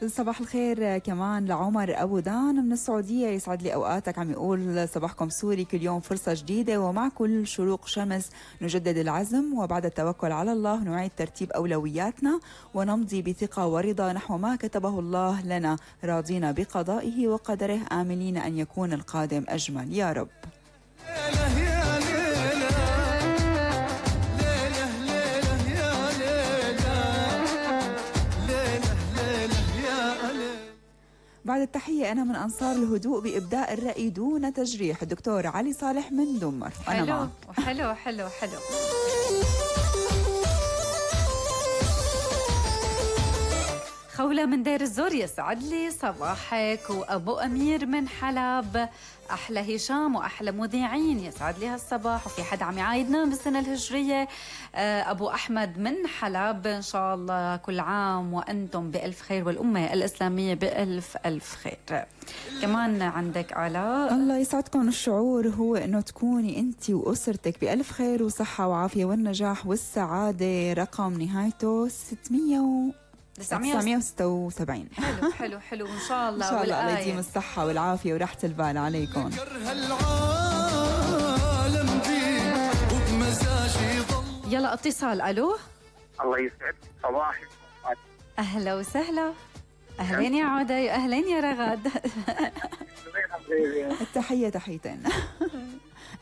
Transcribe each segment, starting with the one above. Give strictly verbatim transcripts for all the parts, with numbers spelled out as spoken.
صباح الخير كمان لعمر أبو دان من السعودية، يسعد لي أوقاتك. عم يقول صباحكم سوري، كل يوم فرصة جديدة ومع كل شروق شمس نجدد العزم، وبعد التوكل على الله نعيد ترتيب أولوياتنا ونمضي بثقة ورضا نحو ما كتبه الله لنا، راضين بقضائه وقدره، آملين أن يكون القادم أجمل يا رب. بعد التحية أنا من أنصار الهدوء بإبداء الرأي دون تجريح، الدكتور علي صالح من دمر. حلو حلو حلو حلو. خولة من دير الزور، يسعد لي صباحك. وأبو أمير من حلب، أحلى هشام وأحلى مذيعين، يسعد لي هالصباح. وفي حد عم يعايدنا بالسنة الهجرية، أبو أحمد من حلب، إن شاء الله كل عام وأنتم بألف خير والأمة الإسلامية بألف ألف خير. كمان عندك آلاء، الله يسعدكم. الشعور هو أنه تكوني أنت وأسرتك بألف خير وصحة وعافية والنجاح والسعادة. رقم نهايته ستمية تسعمية وستة وسبعين. حلو حلو حلو. إن شاء الله إن شاء الله الله والآية. يديم الصحة والعافية وراحة البال عليكم. يلا اتصال. ألو، الله يسعد صباحك. أهلا وسهلا. أهلين يا عودي، أهلين يا رغد. التحية تحيتين.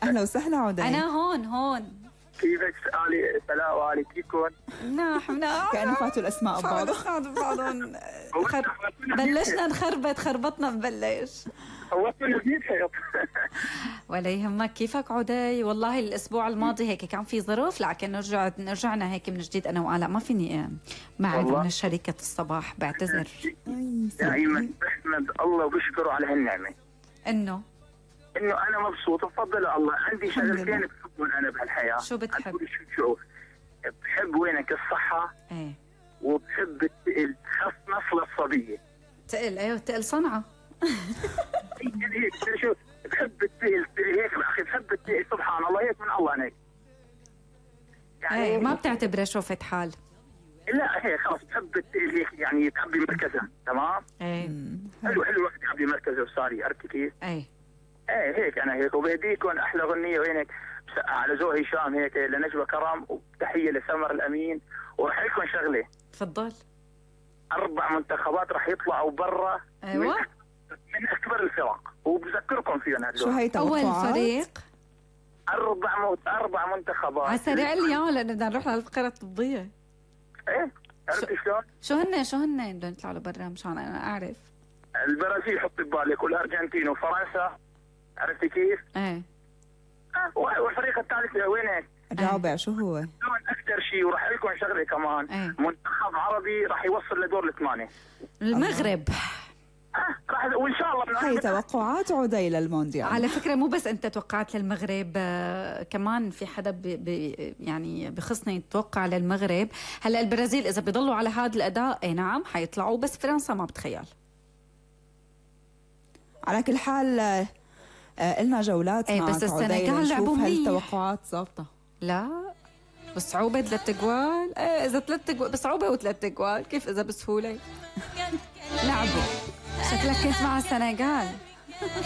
أهلا وسهلا عودي. أنا هون هون. كيفك؟ سؤالي سلام وعلي، كيفكم؟ نحن مناح كأنه فاتوا الأسماء ببعض. بعضهم. بلشنا نخربط، خربطنا نبلش. صوتنا جديد حيط. ولا يهمك. كيفك عودي؟ والله الأسبوع الماضي هيك كان في ظروف، لكن نرجع رجعنا هيك من جديد أنا وآلاء. ما فيني معي من شركة الصباح، بعتذر. دائما بحمد الله وبشكره على هالنعمة، إنه إنه أنا مبسوط بفضل الله. عندي شغلتين بحبهم أنا بهالحياة. شو بتحب؟ شو شو بحب وينك الصحة، ايه، وبحب التقل، خاص نصل الصبية. تقل؟ ايوه تقل صنعة. هيك شو بحب التقل هيك أخي، بحب التقل سبحان الله، هيك من الله هيك يعني. ايه، ما بتعتبره شوفة حال؟ لا هيك خلاص بحب التقل هيك يعني، تعبي مركزها. تمام. ايه حلو حلو الوقت تعبي مركزه وصاري، عرفتي كيف؟ ايه ايه هيك انا هيك. وبهديكم احلى غنية وينك على ذوق هشام هيك لنجوى كرم، وتحية لسمر الامين. وراح لكم شغلة، تفضل. اربع منتخبات راح يطلعوا برا. ايوه، من, من اكبر الفرق، وبذكركم فيهم هذول. شو هي توقعات؟ اول فريق اربع موت اربع منتخبات على سريع اليوم، لانه بدنا نروح للفقرة الطبية. ايه عرفتي شلون؟ شو هن شو هن بدهم يطلعوا لبرا مشان انا اعرف. البرازيل حطي ببالك، والارجنتين وفرنسا، عرفتي كيف؟ ايه. آه والفريق الثالث وينك؟ الرابع شو هو؟ اكثر شيء. وراح لكم شغله كمان. ايه. منتخب عربي راح يوصل لدور الثمانيه. المغرب. اه راح، وان شاء الله. هي توقعات عودي للمونديال. على فكره مو بس انت توقعت للمغرب، آه كمان في حدا بي بي يعني بخصني يتوقع للمغرب. هلا البرازيل اذا بيضلوا على هذا الاداء اي نعم حيطلعوا، بس فرنسا ما بتخيل. على كل حال آه لنا جولات ايه، بس السنغال لعبوا منيح. هل التوقعات ظابطه؟ لا بصعوبة ثلاث اجوال. ايه اذا ثلاث اجوال بصعوبة وثلاث اجوال، كيف اذا بسهولة؟ لعبوا. شكلك كنت مع السنغال.